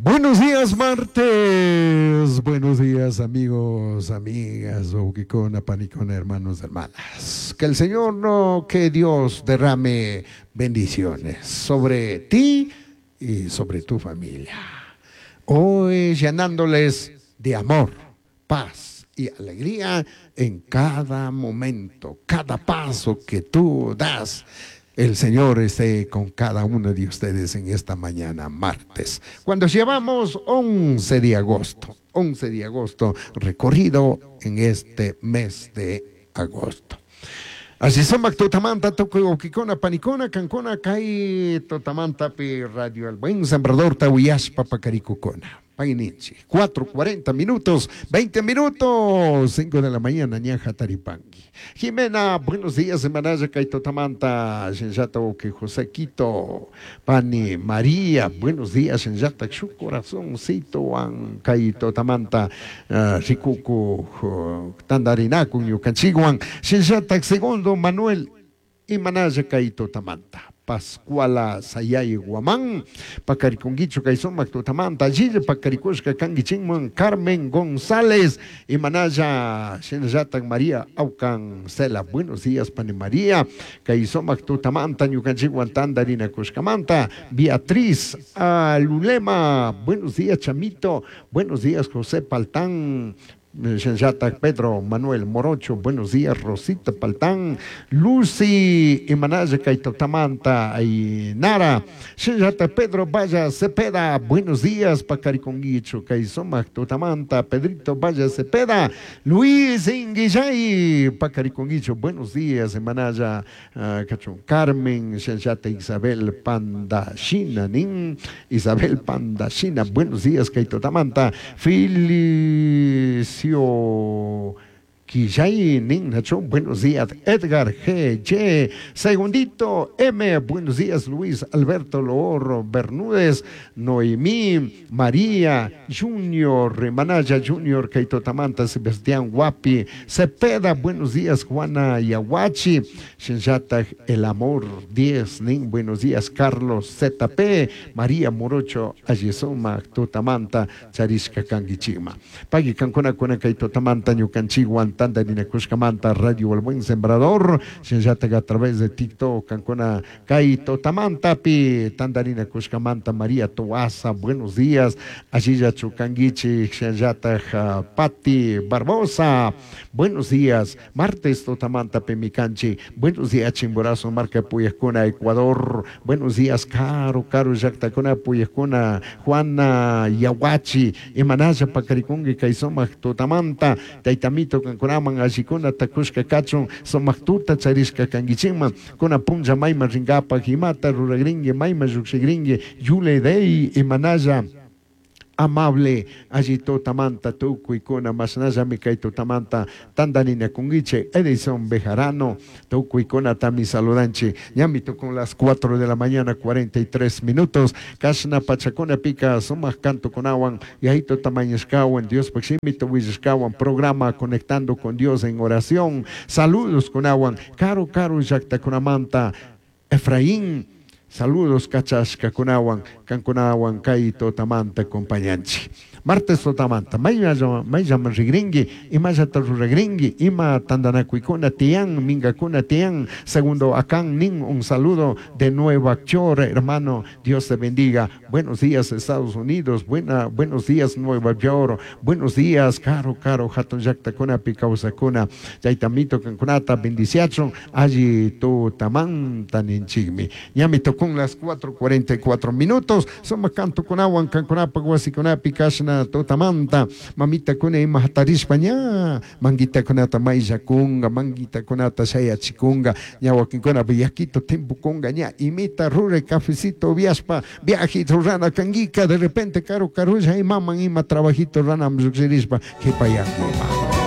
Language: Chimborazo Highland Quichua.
Buenos días, martes. Buenos días, amigos, amigas, huauquicona, panicona, hermanos, hermanas. Que el Señor, no, que Dios derrame bendiciones sobre ti y sobre tu familia. Hoy llenándoles de amor, paz y alegría en cada momento, cada paso que tú das. El Señor esté con cada uno de ustedes en esta mañana, martes, cuando llevamos 11 de agosto, 11 de agosto recorrido en este mes de agosto. Así sumak tutamanta tukuy wawkikuna panikuna kankuna kay tutamantapi Radio El Buen Sembrador uyashpa pakarikukuna. Payninchik 4:40 minutos, 20 minutos, 5 de la mañana, ña hataripanki. Jimena, buenos días, imanalla kay tutamanta, shinllata wawki José Quito, pani María, buenos días, shinllata shuk corazoncitowan kay tutamanta rikuku tandarinakun ñukanchikwan, shinllata segundo Manuel, imanalla kay tutamanta. Pascuala Sayay Guamán, Pacariconguicho kay sumak tutamanta, allilla pakarikushka kankichikman Carmen González, imanalla shinallatak María Aucan Cela, buenos días pani María, kay sumak tutamanta ñukanchikwan tandarinakushkamanta, Beatriz Alulema, buenos días Chamito, buenos días José Paltán, Shinllatak Pedro Manuel Morocho, buenos días Rosita Paltán, Lucy imanalla kay tutamanta ay Nara, shinllatak Pedro Valla Cepeda, buenos días Pacariconguicho, kay sumak tutamanta, Pedrito Valla Cepeda, Luis Inguillay, Pacariconguicho, buenos días imanalla kachun Carmen, shinllata Isabel Pandashina, nin Isabel Pandashina, buenos días kay tutamanta, Felicio Quillay, nin Nacho, buenos días, Edgar G. J. Segundito M, buenos días, Luis Alberto Loor Bermúdez, Noemí, María, Junior, Manaya Junior, Keito Tamanta, Sebastián Guapi, Cepeda, buenos días, Juana Yaguachi, Shinshata El Amor 10, nin, buenos días, Carlos ZP, María Morocho, Ayesoma, Tutamanta, Charishka Kangichima. Pagui Cancuna, Cuna, Keito Tamanta, Ñucanchiguan, Tandarinakushkamanta, Radio El Buen Sembrador, shinllatak a través de TikTok, kankuna kay tutamantapi, Tandarinakushkamanta, María Toaza, buenos días, allilla chukanguichi, shinllatak Pati Barbosa, buenos días, martes tutamanta pemikanchi, buenos días, Chimborazo, marca Puyascuna, Ecuador, buenos días, Caro, Caro, Yactacuna, Puyascuna, Juana Yaguachi, Imanaya, Pacarikungi, Kaisoma, Tutamanta, Taitamito, Cancuraman, Ashikuna, Takushka, Kachun, Somactuta, Charishka, Kangichima, Kuna Punja, Maima, Ringapa, Jimata, Ruragringue, Maima, Yuxigringue, Yule Dei, Imanaya, amable, allí tutamanta, tukuykuna, mashnallami kay tutamanta, tandanina kunguiche, Edison Bejarano, tukuykuna tami saludanchi, ñami con las 4 de la mañana, 43 minutos, kashna pachakuna pica, sumak canto kunawan, yahito tamañishkawan, Dios paximito willishkawan, programa Conectando con Dios en oración, saludos kunawan, caro caro llaktakunamanta, Efraín, saludos kachashka kunawan, kankunawan kay tutamanta acompañanchi. Martes tutamanta, mayllaman rigringi, imallata ruragringi, ima tandanakuykuna tiyan, mingakuna tiyan, segundo akan nin, un saludo de Nueva York, hermano, Dios te bendiga. Buenos días Estados Unidos, buenos días Nueva York, buenos días caro, caro, hatun llaktakuna, pikausakuna, chaytamito kankunata, bendiciachon, allí tutamanta ninchikmi. Ñami tocó las 4:44 minutos, somos canto kunawan, kankunapa, wasikunapi, kashna tutamanta, mamita kuna ima hatarishpa ña, manguita kunata maylla kunga, manguita kunata shayachikunga, ña wakinkuna villaquito timpu kunga, ña imita rure cafecito viaspa, viajito rana kanguica, de repente caro carulla y maman ima trabajito rana mzuxirishpa, kipayanguima.